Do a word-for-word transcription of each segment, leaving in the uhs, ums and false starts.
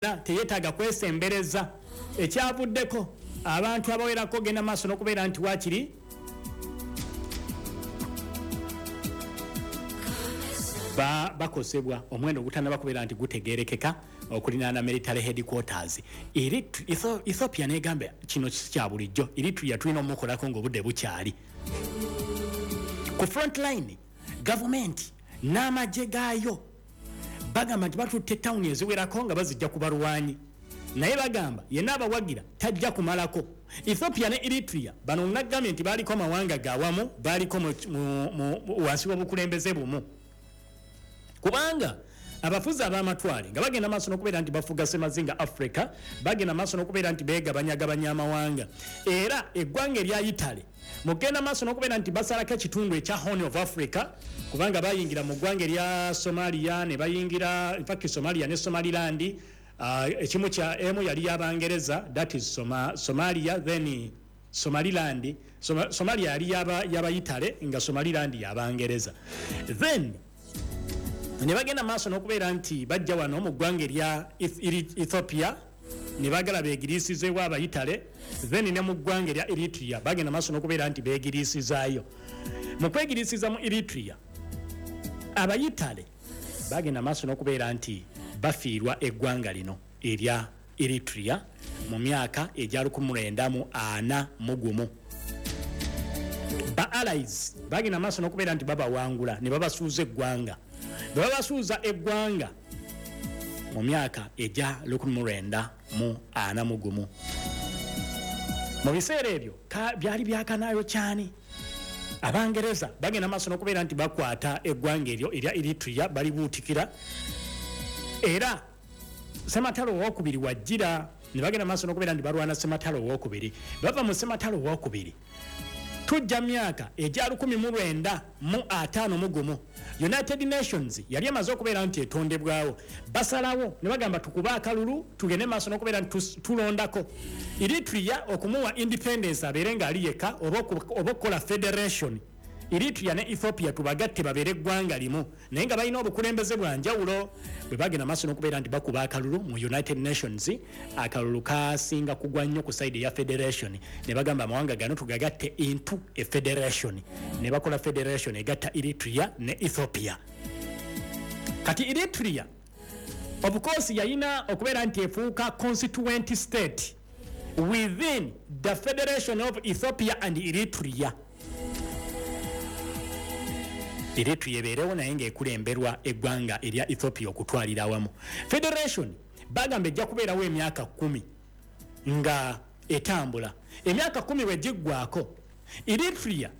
Teyetaaga kwesembereza. Ekyavuddeko abantu abawerako genda maaso n'okubeera nti waakiri bakosebwa omuwendo ogutannaba kubeera nti gutegeerekeka okulinaana military headquarters. Ethiopia negamba kino si kya bulijjo, Eritrea tulina omukolako ng'obudde bukyali. Ku front line, gavumenti n'amagye gaayo bagamba nti batutte tawuni eziwerako nga bazijja ku balwanyi, naye bagamba yenna abawagira tajja kumalako. Ethiopia ne Eritrea bano nagambye nti baaliko amawanga gawamu, baaliko wansi w'obukulembeze bumu, kubanga abafuzi ab'amatwale nga bagenda maaso n'okubeera nti bafuga Semazinga Africa, bagenda maaso n'okubeera nti beegabanyagabanya amawanga. Era eggwanga erya Italy mugenda maaso n'okubeera nti basalako ekitundu ekya Horn of Africa, kubanga bayingira mu ggwanga erya Somalia ne bayingira, in fact Somalia ne Somaliland, ekimu kya emu yali y'Abangereza, that is Soma, Somalia, then Somaliland. Soma, Somalia yali y'aba Italy nga Somaliland y'Abangereza. Then ne bagenda maaso n'okubeera nti bajja wano mu ggwanga erya Ethiopia ne baagala beegiriisizeewo Abayitale, then ne mu ggwanga erya Eritrea bagenda maaso n'okubeera nti beegiriisizaayo. Mu kwegiriisiza mu Eritrea, Abayitale bagenda maaso n'okubeera nti bafiirwa eggwanga lino erya Eritrea mu myaka egya lukumi lwenda mu ana mu gumu. Ba allies bagenda maaso n'okubeera nti babawangula ne babasuuza eggwanga. Bwe babasuuza eggwanga mu myaka egya lukumi lwenda mu ana mu gumu, mu biseera ebyo byali byakanaayo kyani, Abangereza bagenda maaso n'okubeera nti bakwata eggwanga eryo erya Eritrea balibuutikira. Era Ssematalo owokubiri wajjira ne bagenda maaso n'okubeera nti balwana Ssematalo owokubiri. Bava mu Ssematalo owokubiri tujja myaka egya lukumi mu lwenda mu ataano mu gumu, United Nations yali emaze okubeera nti etondebwawo. Basalawo ne bagamba tukube akalulu tugende maaso n'okubeera nti tulondako Eritrea okumuwa independence abeere ng'ali yekka oba okukola federation. Eritrea ne Ethiopia tubagatte babeere eggwanga limu, naye nga balina obukulembeze bwa njawulo. Bwe bagenda maaso n'okubeera nti bakuba akalulu mu United Nations, akalulu kasinga kugwa nnyo ku side eya federation, ne bagamba amawanga gano tugagatte into a federation, ne bakola federation egatta Eritrea ne Ethiopia. Kati Eritrea of course yayina okubeera nti efuuka constituent state within the federation of Ethiopia and Eritrea. Eritrea ebeerewo naye ng'ekulemberwa eggwanga erya Ethiopia okutwalira awamu. Federation bagamba ejja kubeerawo emyaka kkumi nga etambula. Emyaka kkumi bwe giggwako, Eritrea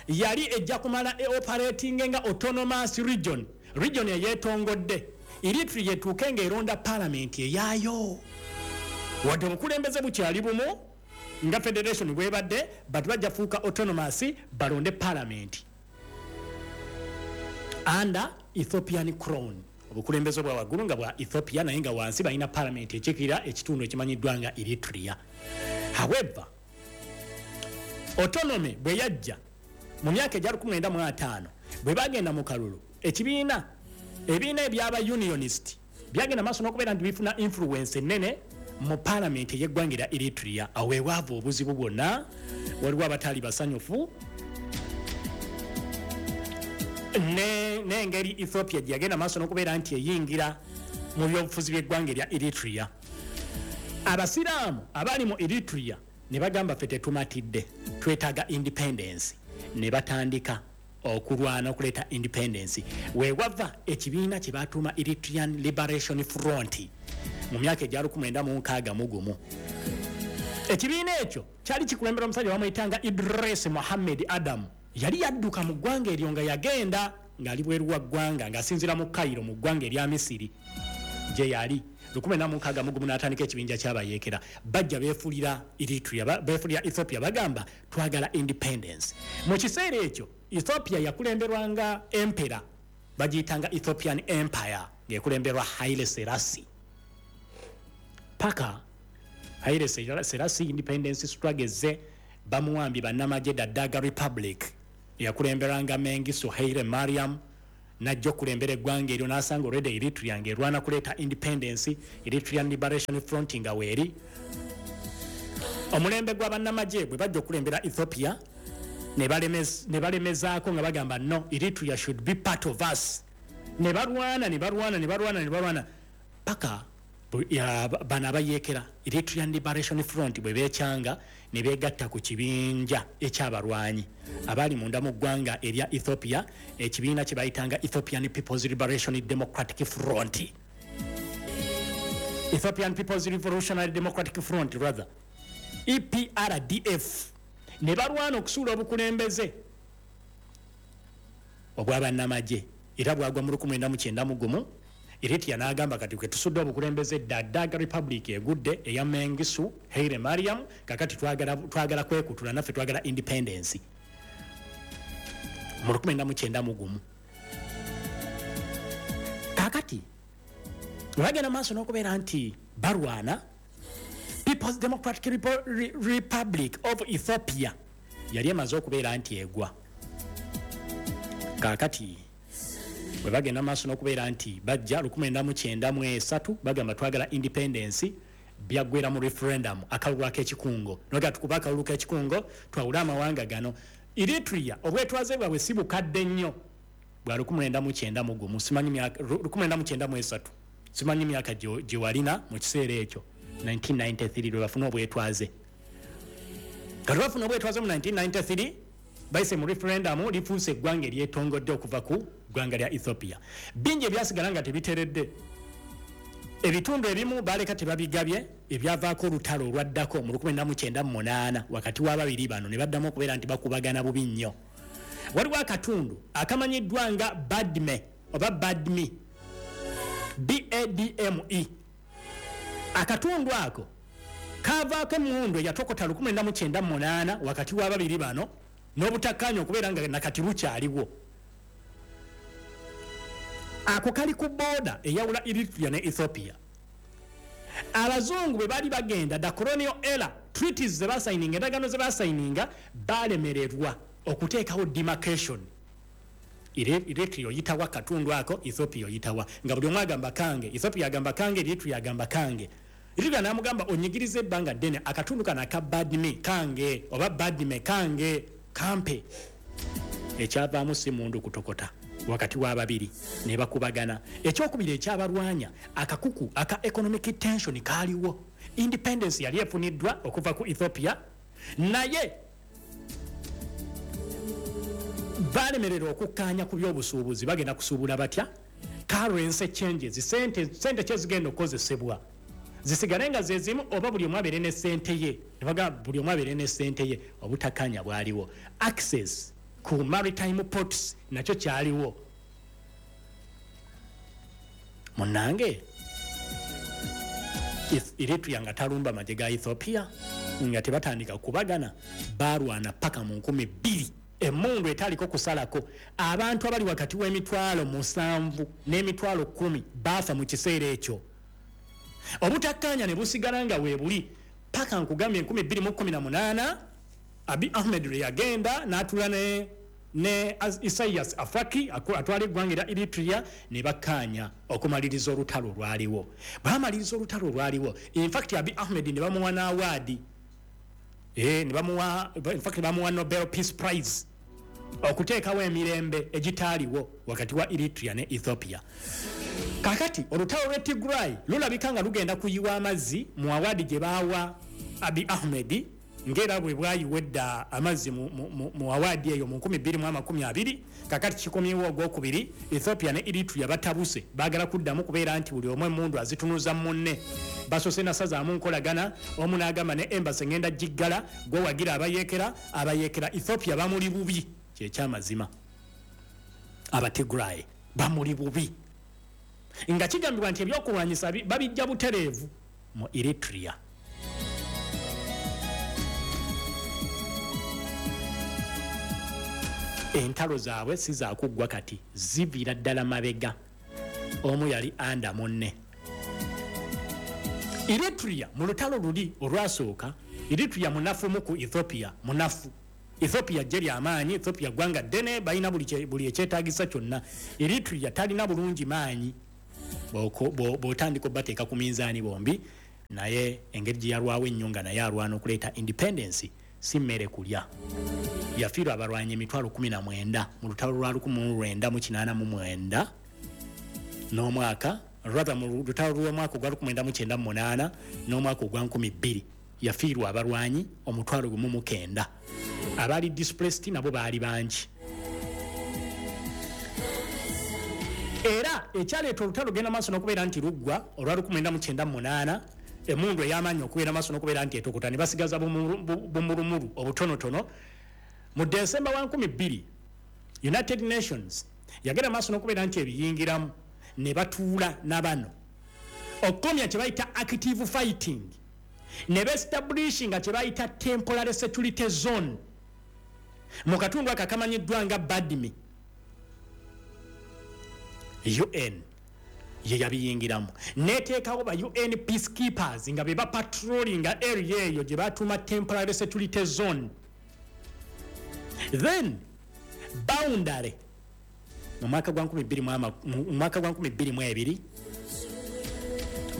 yali ejja kumala e operating nga autonomous region, region eyeetongodde. Eritrea etuuke ng'eronda paalamenti eyaayo, wadde obukulembeze bukyali bumu nga federation bwebadde, but bajja fuuka autonomous balonde paalamenti under Ethiopian crown, obukulembeze bwa waggulu nga bwa Ethiopia, naye nga wansi balina paalamenti ekiikirira ekitundu ekimanyiddwa nga Eritrea. However, autonomy bwe yajja mu myaka egya lukumi lwenda mu ataano, bwe bagenda mu kalulu, ekibiina ebibiina ebyaba unionist byagenda maaso n'okubeera nti bifuna influence ennene mu paalamenti ey'eggwanga erya Eritrea. Awo wewaava obuzibu bwonna, waliwo abataali basanyufu n'engeri Ethiopia gye yagenda maaso n'okubeera nti eyingira mu byobufuzi by'eggwanga erya Eritrea. Abasiraamu abali mu Eritrea ne bagamba ffe tetumatidde, twetaaga independence, ne batandika okulwana okuleeta independence. Weewava ekibiina kye batuuma Eritrean Liberation Front mu myaka egya lukumi lwenda mu nkaaga mu gumu. Ekibiina ekyo kyali kikulembera omusajja bamuyitanga Idris Mohammed Adam. Yali yadduka mu ggwanga eryo nga yagenda ng'ali bweru wa ggwanga ng'asinziira mu Cairo mu ggwanga erya Misiri gye yali. Lukumi lwenda mu nkaaga mu gumu n'atandika ekibinja ky'abayeekera. Bajja beefuulira Eritrea, beefuulira Ethiopia, bagamba twagala independence. Mu kiseera ekyo Ethiopia yakulemberwanga emperor, bagiyitanga Ethiopian Empire, ng'ekulemberwa Haile Selassie. Paka Haile Selassie independence struggle ze bamuwambye bannamagye da Derg Republic eyakulemberanga Mengistu Haile Mariam Najja okulembera eggwanga eryo n'asanga already Eritrea ng'erwana kuleeta independence, Eritrean Liberation Front nga weeri. Omulembe gw'abannamagye bwe bajja okulembera Ethiopia ne balemezaako nga bagamba no, Eritrea should be part of us. Ne balwana ne balwana ne balwana ne balwana paka bano abayeekera Eritrean Liberation Front bwe beekyanga ne beegatta ku kibinja ekyabalwanyi abaali munda mu ggwanga erya Ethiopia, ekibiina kye bayitanga Ethiopian People's Liberation Democratic Front, Ethiopian People's Revolutionary Democratic Front rather, E P R D F. Ne balwana okusuula obukulembeze obw'abannamagye era bwagwa mu lukumi lwenda mu kyenda mu gumu. Eritrea n'agamba kati kwe tusudde obukulembeze dda, Daga Republic egudde eya Mengistu Haile Mariam, kakati twagala twagala kwekutula naffe twagala independence mu lukumi lwenda mu kyenda mu gumu. Kakati bagenda maaso n'okubeera nti balwana. People's Democratic Republic of Ethiopia yali emaze okubeera nti egwa. Kakati bwe bagenda maaso n'okubeera nti bajja lukumi lwenda mu kyenda mu esatu bagamba twagala independence, byaggwera mu referendum, akalulu ak'ekikungo. Noga tukuba akalulu k'ekikungo twawule amawanga gano. Eritrea obwetwaze bwabwe si bukadde nnyo bwa lukumi lwenda mu kyenda mu gumu, simanyi myaka lukumi lwenda mu kyenda mu esatu, simanyi myaka gye walina mu kiseera ekyo nineteen ninety-three lwe bafuna obwetwaze. Kati bafuna obwetwaze mu nineteen ninety-three bayise mu referendum, lifuuse eggwanga eryetongodde okuva ku ggwanga lya Ethiopia. Bingi ebyasigala nga tebiteredde, ebitundu ebimu baleka tebabigabye, ebyavaako olutalo olwaddako mu lukumi lwenda mu kyenda mu munaana wakati w'ababiri bano ne baddamu okubeera nti bakubagana bubi nnyo. Waliwo akatundu akamanyiddwa nga Badme oba Badmi, B A D M E. Akatundu ako kavaako emmundu eyatokota lukumi lwenda mu kyenda mu munaana wakati w'ababiri bano n'obutakkaanya okubeera nga nakati bukyaliwo. Ako kali ku booda eyawula Eritrea ne Ethiopia. Abazungu bwe baali bagenda, the colonial era treaties ze basayininga, endagaano ze basayininga, balemererwa okuteekawo demarcation. Eritrea oyitawa akatundu ako, Ethiopia oyitawa, nga buli omu agamba kange, Ethiopia agamba kange, Eritrea agamba kange. Eritrea n'amugamba onyigirize ebbanga ddene, akatundu kano aka Badme kange oba Badme kange kampe. Ekyavaamu si mundu kutokota wakati w'ababiri ne bakubagana. Ekyokubiri ekyabalwanya, akakuku aka economic tension kaaliwo. Independence yali efuniddwa okuva ku Ethiopia, naye balemererwa okukkaanya ku by'obusuubuzi. Bagenda kusuubula batya? Currency changes, sente sente kyezigenda okukozesebwa zisigale nga ze zimu oba buli omu abeere ne ssente ye. Ne bagamba buli omu abeere ne ssente ye. Obutakkaanya bwaliwo. Access ku maritime ports nakyo kyaliwo. Munnange Eritrea nga talumba magye ga Ethiopia, nga tebatandika kubagana, balwana paka mu nkumi bbiri. Emmundu etaaliko kusalako, abantu abali wakati w'emitwalo musanvu n'emitwalo kkumi baafa mu kiseera ekyo. Obutakkaanya ne busigala nga weebuli paka nkugambye enkumi bbiri mu kkumi na munaana Abiy Ahmed lwe yagenda n'atuula ne ne Isaias Afwerki atwala eggwanga erya Eritrea ne bakkaanya okumaliriza olutalo olwaliwo. Baamaliriza olutalo olwaliwo. In fact Abiy Ahmed ne bamuwa n'awaadi, eh, ne bamuwa, in fact bamuwa Nobel Peace Prize okuteekawo emirembe egitaaliwo wakati wa Eritrea ne Ethiopia. Kakati olutalo lw'e Tigray lulabika nga lugenda kuyiwa amazzi mu awaadi gye baawa Abiy Ahmed, ng'era bwe bwayiwa edda amazzi mu, mu, mu awaadi eyo mu nkumi bbiri mu amakumi abiri. Kakati kikomyewo ogwokubiri, Ethiopia ne Eritrea batabuse, baagala kuddamu kubeera nti buli omu emmundu azitunuza munne. Basoose nasazaamu nkolagana, omu n'agamba ne embassy ngenda giggala, gwe wagira abayeekera, abayeekera Ethiopia bamuli bubi. Kyekyamazima, Abatigray bamuli bubi, nga kigambibwa nti ebyokulwanyisa babijja butereevu mu Eritrea. Entalo zaabwe si zaakuggwa kati, ziviira ddala mabega. Omu yali anda munne. Eritrea mu lutalo luli olwasooka, Eritrea munafu mu ku Ethiopia, munafu. Ethiopia ggye lyamaanyi, Ethiopia ggwanga ddene, balina buli ekyetaagisa kyonna. Eritrea talina bulungi maanyi bw'otandika obateeka ku minzaani bombi, naye engeri gye yalwawo ennyo nga naye alwana okuleeta independence si mmere kulya. Yafiirwa abalwanyi emitwalo kumi na mwenda mu lutalo lwa lukumi mu lwenda mu kinaana mu mwenda n'omwaka, rather mu lutalo lw'omwaka ogwa lukumi mwenda mu kyenda mu munaana n'omwaka ogwa nkumi bbiri yafiirwa abalwanyi omutwalo gumu mu kenda. Abaali displaced nabo baali bangi. Era ekyaleeta olutalo genda maaso n'okubeera nti luggwa olwa lukumi mwenda mu kyenda mu munaana, emmundu ey'amaanyi okubeera maaso n'okubeera nti etokota ne basigaza bumulumulu obutonotono. Mu December wa nkumi bbiri United Nations yagenda maaso n'okubeera nti ebiyingiramu ne batuula na bano okukomya kye bayita active fighting, ne beestablishinga kye bayita temporary security zone mu katundu ako akamanyiddwa nga Badme. U N ye yabiyingiramu neteekawo ba U N peacekeepers nga be bapatrollinga area eyo gye batuuma temporary security zone. Then boundary mu mwaka gwa nkumi bbiri mu ebiri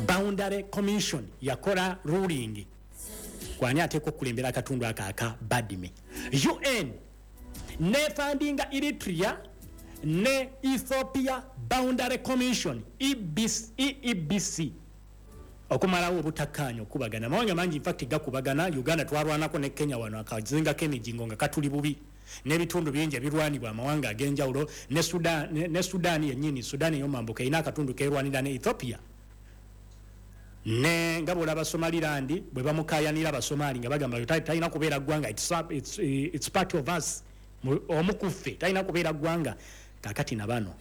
Boundary Commission yakola ruling kwani ateekwa okukulembera akatundu ako aka Badme. U N nefandinga Eritrea ne Ethiopia Boundary Commission E E B C okumalawo obutakkaanya okubagana. Amawanga mangi in fact gakubagana. Uganda twarwanako ne Kenya wano akazinga k'emijingo nga katuli bubi n'ebitundu bingi ebirwanibwa amawanga ag'enjawulo, ne Sudan, ne, ne Sudan yennyini, Sudan ey'omambuka erina akatundu keerwanira ne Ethiopia. Ne nga bw'olaba Somaliland bwe bamukaayanira Abasomali nga bagamba talina kubeera ggwanga, it's, it's, it's part of us, omu ku ffe talina kubeera ggwanga. Kaakati na bano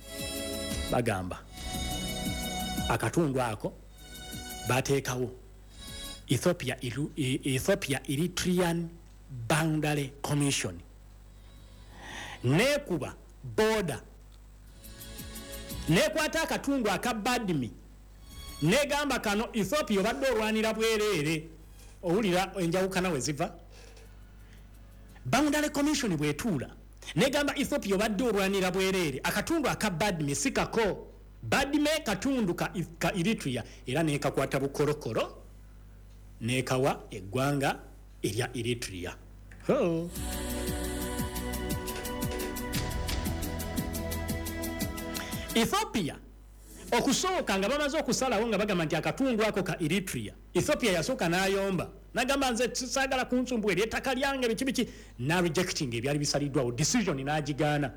bagamba akatundu ako bateekawo Ethiopia, Ethiopia Eritrean Boundary Commission nekuba border nekwata akatundu aka Badme negamba kano Ethiopia obadde olwanira bwereere. Owulira enjawukana we ziva. Boundary Commission bwetuula negamba Ethiopia obadde olwanira bwereere, akatundu aka Badme si kako. Badme katundu ka, ka Eritrea era nekakwata bukorokoro nekawa eggwanga erya Eritrea. Ho. Ethiopia okusooka nga bamaze okusalawo nga bagamba nti akatundu ako ka Eritrea, Ethiopia yasooka n'ayomba nagamba nze saagala kunsumbuwa eri ettaka lyange biki biki, na rejecting ebyali bisaliddwawo decision n'agigaana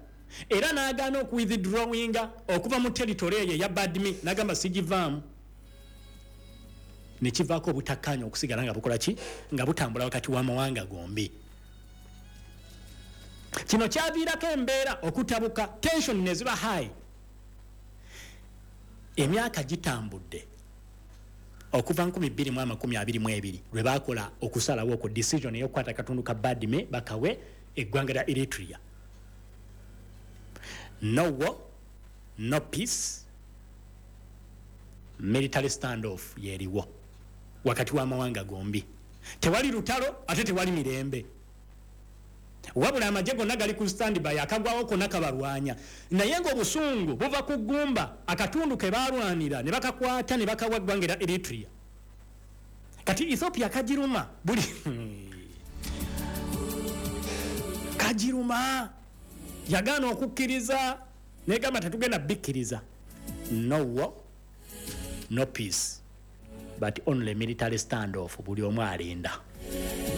era n'agaana okuwithdrawinga okuva mu territory eyo eya Badme, n'agamba sigivaamu. Ne kivaako obutakkaanya okusigala nga bukola ki, nga butambula wakati w'amawanga gombi. Kino kyaviirako embeera okutabuka, tension ne ziba high. Emyaka gitambudde okuva nkumi bbiri mu amakumi abiri mu ebiri lwe baakola okusalawo okwo decision ey'okukwata akatundu ka Badme bakawe eggwanga lya Eritrea. No war, no peace, military standoff yeriwo wakati w'amawanga gombi. Tewali lutalo ate tewali mirembe, wabula amagye gonna gali ku standby, akagwawo konna kabalwanya. Naye ng'obusungu buva ku ggumba akatundu ke baalwanira ne bakakwata ne bakawa eggwanga lya Eritrea. Kati Ethiopia kagiruma buli kagiruma yagaana okukkiriza negamba tetugenda bikkiriza. No war, no peace, but only military standoff. Buli omu alinda.